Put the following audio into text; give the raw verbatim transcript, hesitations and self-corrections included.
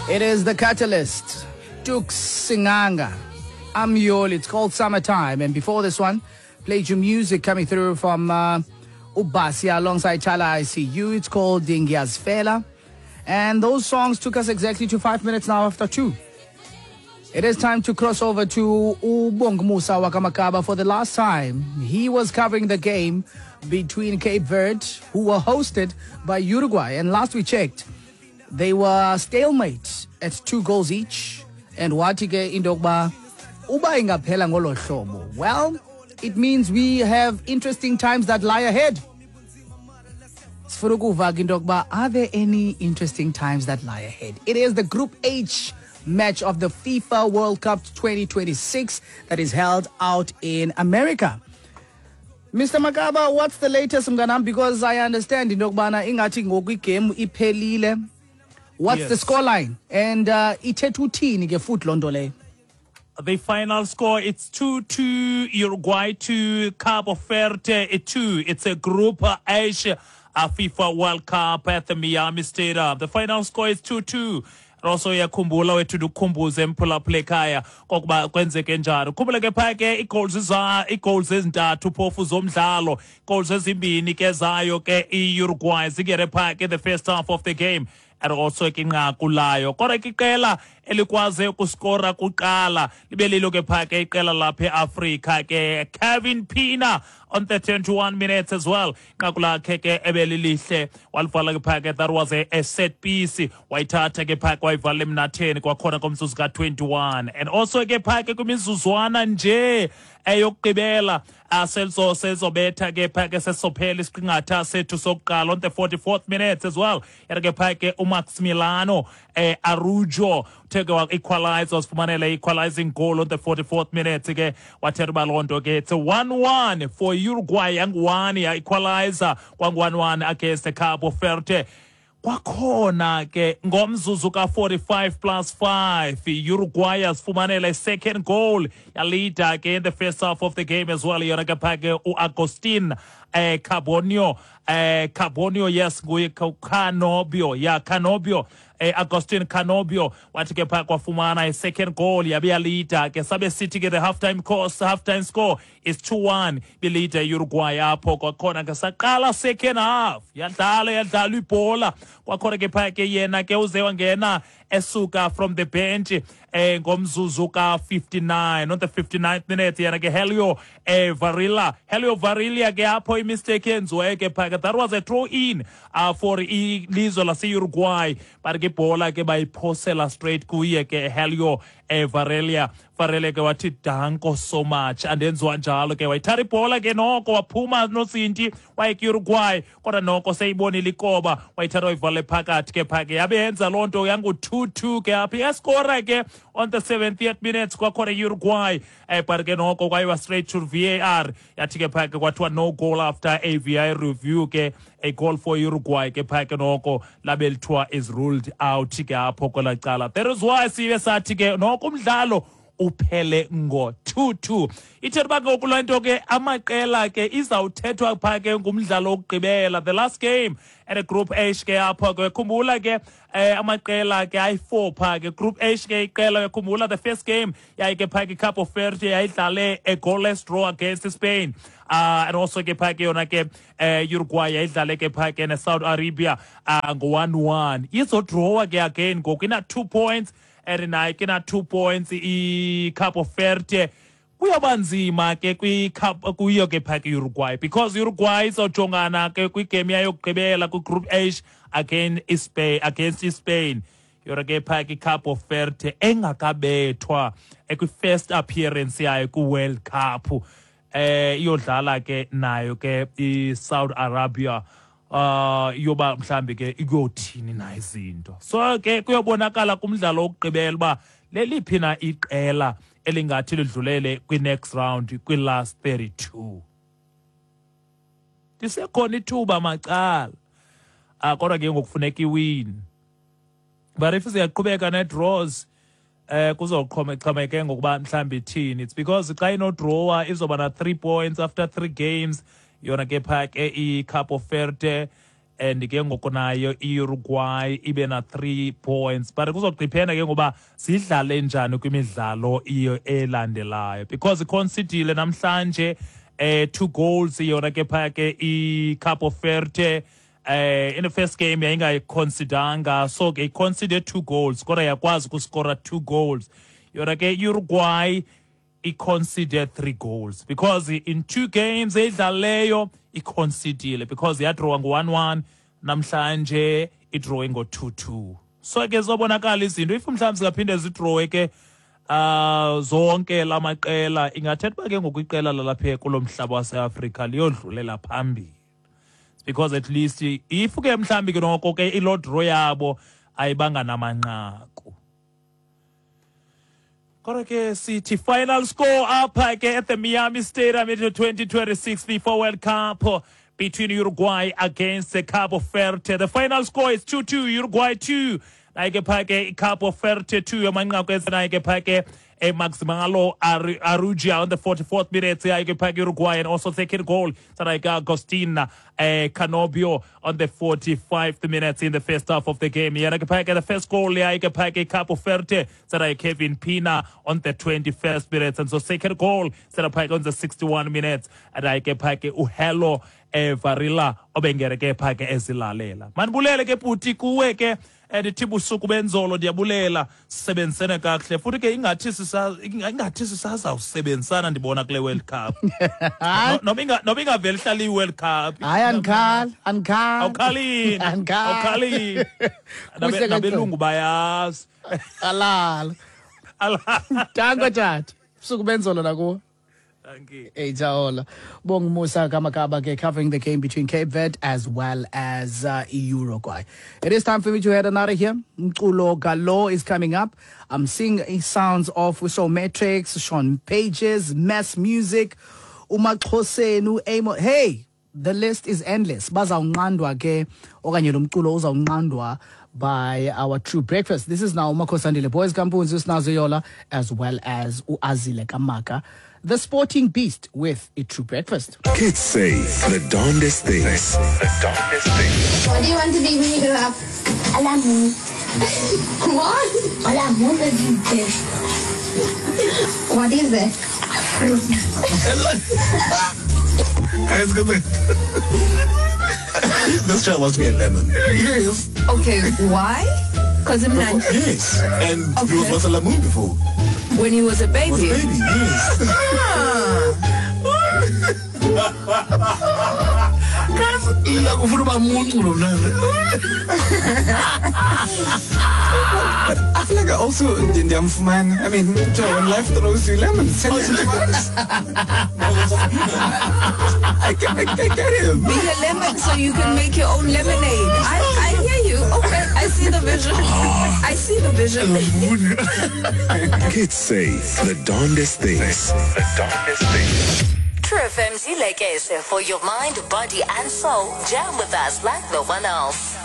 It is the Catalyst, Tuks Singanga, Amyol. It's called Summertime. And before this one, played your music coming through from uh, Ubasia alongside Chala I C U. It's called Dingyazfela. And those songs took us exactly to five minutes now after two. It is time to cross over to Ubongmusa Wakamakaba for the last time. He was covering the game between Cape Verde, who were hosted by Uruguay. And last we checked, they were stalemate at two goals each. And wathi ke into yokuba uba ingaphela ngolo hlobo. Well, it means we have interesting times that lie ahead. Sifuna ukuva ke into yokuba, are there any interesting times that lie ahead? It is the Group H match of the FIFA World Cup twenty twenty-six that is held out in America. Mister Makaba, what's the latest, mnganam? Because I understand into yokubana ingathi ngoku igame iphelile. What's Yes. the scoreline? And uh, ithetha uthini ke futhi loo nto leyo? The final score, it's two two, Uruguay two, Cabo Verde two. It's a Group H, a FIFA World Cup at the Miami Stadium. The final score is two two. Also uyakhumbula wethu ndikhumbuze mphulaphula ekhaya kokuba kwenzeke njani. Ukhumbule ke phaya ke ii-goals za, ii-goals ezintathu phofu zomdlalo, goals ezimbini ke zayo ke i-Uruguay zingene phaya ke the first half of the game. And also ke inqaku layo. Kodwa ke iqela elikwaze ukuskora kuqala libe lilo ke phaya ke iqela lapha eAfrika ke Kevin Pina on the twenty-one minutes as well. Inqaku lakhe ke ebelilihle walivala ke phaya ke that was a, a set piece wayithatha ke phaya wayivala emnatheni kwakhona komzuzu ka twenty-one. And also ke phaya ke kwimizuzwana nje eyokugqibela aselso sezobetha ke phaya ke sesophela isiqingatha sethu sokuqala on the forty-fourth minutes as well. Yena ke phaya ke uMaximiliano eh, Araujo uthe ke wa-equalize wasifumanela equalizing goal on the forty-fourth minute ke wathetha uba loo nto ke it's a one one for Uruguay yangu-one ya-equalizer kwangu-one one against the Cabo Verde. Kwakhona ke ngomzuzu ka forty-five plus five Uruguay yasifumanela second goal yalida ke in the first half of the game as well. Yona ke phaya ke uAugustin eh, Carbonio eh, Carbonio yes nguye Canobbio ya Canobbio eh, Agustin Canobbio wathi ke phaya kwafumana i-second goal yabe yalida ke sabe sithi ke the halftime course halftime score is two one bilida Uruguay apho. Kwakhona ke saqala second half yadlala yadlala ibhola kwakhona ke phaya ke yena ke uze wangena esuka from the bench eh, ngomzuzu ka fifty-nine on the fifty-ninth minute yena ke Helio eh, Varela Helio Varela ke apho imistake yenziwe ke phaya ke that was a throw in uh, for ilizwe lase-Uruguay but ke ibhola ke bayiphosela straight kuye ke Helio eh, Varela Varela ke wathi danko so much andenziwa njalo ke wayithatha ibhola ke noko waphuma nozinti waye ke-Uruguay kodwa noko seyibonile ikoba wayithatha wayivale phakathi ke phaya ke yabe yenza loo nto yangu-two two ke apha yaskora ke on the seventieth minutes kwakhona i-Uruguay eh, but ke noko kwayiwa straight to V A R yathi ke phaya ke kwathiwa no goal after a V A R review ke a goal for Uruguay ke phaya ke noko labe lithiwa is ruled out ke apho kwelaa cala. That is why sibe sathi ke noko umdlalo uphele ngo two two. Ithetha uba ngoku loo nto ke amaqela ke izawuthethwa phaa ke ngumdlalo wokugqibela the last game at a Group H ke apho ke khumbula ke eh, amaqela ke ayi-four phaa ke Group H ke iqela khumbula the first game yayi ke phaa ke Cabo Verde yayidlale a goalless draw against Spain. Uh, and also ke phaa ke yona ke eh, Uruguay yayidlale ke phaa ke ne-Saudi Arabia uh, ngo-one one. Izodrawa ke again ngoku ina two points and nayo ke na two points i-Cabo Verde. Kuyoba nzima ke kuyo ke phaa ke Uruguay because Uruguay izojongana ke kwigame yayo yokugqibela kwi-Group H against Spain, against Spain. Yona ke phaa ke Cabo Verde engakabethwa ekwi-first appearance yayo kwi-World Cup. Eh, iyodlala ke nayo ke i-Saudi Arabia. Uh, yoba mhlambi ke ikuyothini na izinto. So ke kuyobonakala kumdlalo wokugqibela uba leliphi na iqela elingathi lidlulele kwi-next round kwi-last thirty-two. Lisekhona ithuba macala. Ah, kodwa ke ngokufuneka iwin. But if siyaqhubeka ne-draws eh kuzoxhomexhomeke ngokuba mhlambi ithini. It's because xa inodrawa izoba na three points after three games. Yona ke phaa ke i-Cabo Verde And ke ngoku nayo i-Uruguay ibe na three points, but kuzogqiphena ke ngoba sidlale njani kwimidlalo iyo elandelayo, because iconcedile namhlanje eh two goals yona ke phaya ke i-Cabo Verde. Eh in the first game yayingayiconsideranga, so ke iconceded two goals kodwa yakwazi ukuskora two goals. Yona ke Uruguay iconceded three goals because in two games edlaleyo iconcedile, because yadrawa ngo-one one, namhlanje idrawe ngo-two two. So ke zobonakala izinto if mhlawumbi zingaphinde zidrawe ke uh zonke lamaqela, ingathetha uba ke ngoku iqela lalapha kulo mhlaba waseAfrika liyodlulela phambili, because at least if ke mhlawumbi ke noko ke ilo draw yabo ayibanga namanqaku. Kodwa ke sithi final score apha ke at the Miami Stadium in the twenty twenty-six FIFA World Cup between Uruguay against the Cabo Verde. The final score is two two, Uruguay two. Naye ke pha ke Cabo Verde two. Amanqaku enze ke pha ke Maximalo Arugia on the forty-fourth minute. Naye ke pha ke Uruguay, and also second goal Sarayika Agustin eh, Canobio on the forty-fifth minutes in the first half of the game. Yena ke pha ke the first goal yaye ke pha ke Cabo Verde Sarayika Kevin Pina on the twenty-first minutes, and so second goal Sarayika on the sixty-one minutes. Naye ke pha ke Uhelo eh, Varela obengere ke pha ke ezilalela. Manibulele ke bhuti kuwe ke ndithi busuku benzolo, ndiyabulela sisebenzisene kakuhle futhi ke ingathi sisa ingathi sisazawusebenzisana ndibona kule World Cup. Noba inga noba ingaveli ihlala i-World Cup. Hayi andikhali, andikhali. Awukhalini. Andikhali. Awukhalini. Nabelungu bayazi. Alala. Alala. Danko tata. Busuku benzolo nakuwe. Thank you. Hey, Jaola. Bong Musa Kamakaba covering the game between Cape Verde as well as uh, Uruguay. It is time for me to head on out of here. Mculo Galo is coming up. I'm seeing sounds of Uso Matrix, Sean Pages, Mass Music, Umaxhosenu, Amo. Hey, the list is endless. Bazawunqandwa ke okanye lo mculo uzawunqandwa by our True Breakfast. This is now Umakosandile Boys Kampunzi, Usnazo Yola, as well as Uazile Kamaka, the Sporting Beast, with a True Breakfast. Kids say the darndest things. The darndest things. What do you want to be when you grow up? A lemon. What? A lemon is this. What is it? A fruit. This child wants to be a lemon. Yes. Okay, why? Because I'm not. Yes, and okay. He was once a lemon before. When he was a baby? Was a baby, yes. But I feel like I also didn't man. I mean, when life throws you lemons, I, can, I, I get him. Be a lemon so you can make your own lemonade. I, I hear you. Okay, I see the vision. I see the vision. Kids say the darndest things. The darndest things. True F M's Ilekese for your mind, body and soul. Jam with us like no one else.